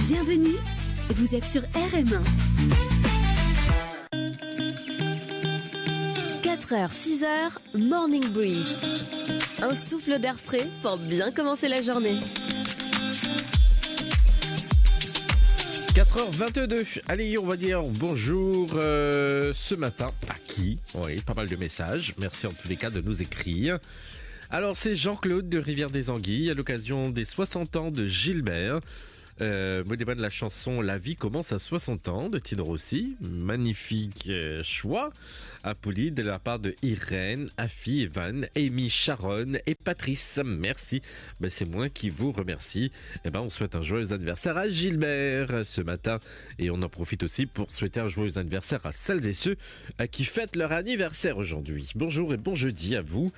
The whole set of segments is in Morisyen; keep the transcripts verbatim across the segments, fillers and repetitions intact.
Bienvenue, vous êtes sur R M un. Quatre heures, six heures, Morning Breeze. Un souffle d'air frais pour bien commencer la journée. Quatre heures vingt-deux. Allez, on va dire bonjour euh, ce matin. À qui ? Oui, pas mal de messages. Merci en tous les cas de nous écrire. Alors, c'est Jean-Claude de Rivière des Anguilles à l'occasion des soixante ans de Gilbert. Euh, mo demann la chanson La vie commence à soixante ans de Tino Rossi. Magnifique euh, choix. Apouli de la part de Irène, Afi, Evan, Amy, Sharon et Patrice. Merci. Ben, c'est moi qui vous remercie. Eh ben, on souhaite un joyeux anniversaire à Gilbert euh, ce matin. Et on en profite aussi pour souhaiter un joyeux anniversaire à celles et ceux euh, qui fêtent leur anniversaire aujourd'hui. Bonjour et bon jeudi à vous.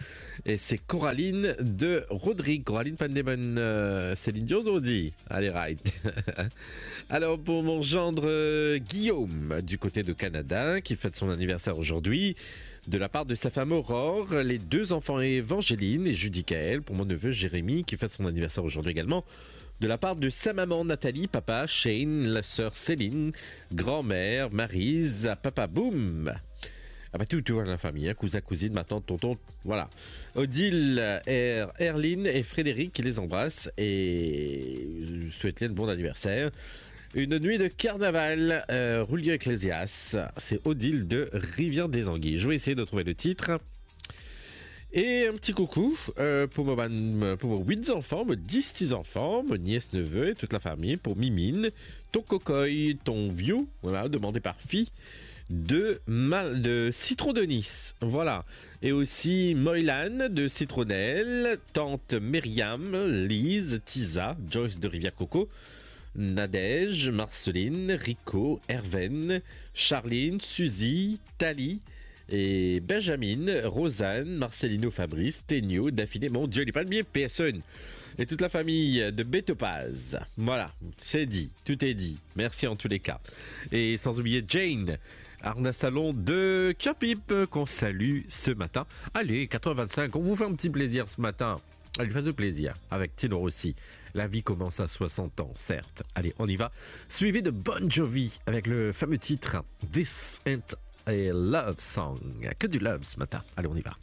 Et c'est Coraline de Rodrigue. Coraline, pandeman euh, Céline Dion, on dit. Allez, right. Alors, pour mon gendre euh, Guillaume, du côté de Canada, qui fête son anniversaire aujourd'hui, de la part de sa femme Aurore, les deux enfants Évangeline et Judicaël, pour mon neveu Jérémy, qui fête son anniversaire aujourd'hui également, de la part de sa maman Nathalie, papa Shane, la sœur Céline, grand-mère Maryse, papa Boum. Ah bah tout, tout la famille, hein, cousin, cousine, ma tante, tonton, voilà. Odile, Er- Erline et Frédéric qui les embrassent et souhaitent un bon anniversaire. Une nuit de carnaval, euh, Julio Iglesias, c'est Odile de Rivière des Anguilles. Je vais essayer de trouver le titre. Et un petit coucou euh, pour, mon, pour mon huit enfants, mon dix petits-enfants, mon nièce, neveu et toute la famille, pour Mimine, ton cocoy, ton vieux, voilà, demandé par fille, de, Mal, de Citron de Nice. Voilà. Et aussi Moylan de Citronnelle, tante Myriam, Lise, Tisa, Joyce de Rivière-Coco, Nadège, Marceline, Rico, Herven, Charline, Suzy, Tali, et Benjamin, Rosanne, Marcelino, Fabrice, Tenio, Daphine, mon Dieu, li pa bien personne. Et toute la famille de Betopaz. Voilà, c'est dit, tout est dit. Merci en tous les cas. Et sans oublier Jane, Arna Salon de Kirpip, qu'on salue ce matin. Allez, quatre heures vingt-cinq, on vous fait un petit plaisir ce matin. Allez, faites plaisir avec Tino Rossi. La vie commence à soixante ans, certes. Allez, on y va. Suivi de Bon Jovi avec le fameux titre This Ain't a Love Song. Que du love ce matin. Allez, on y va.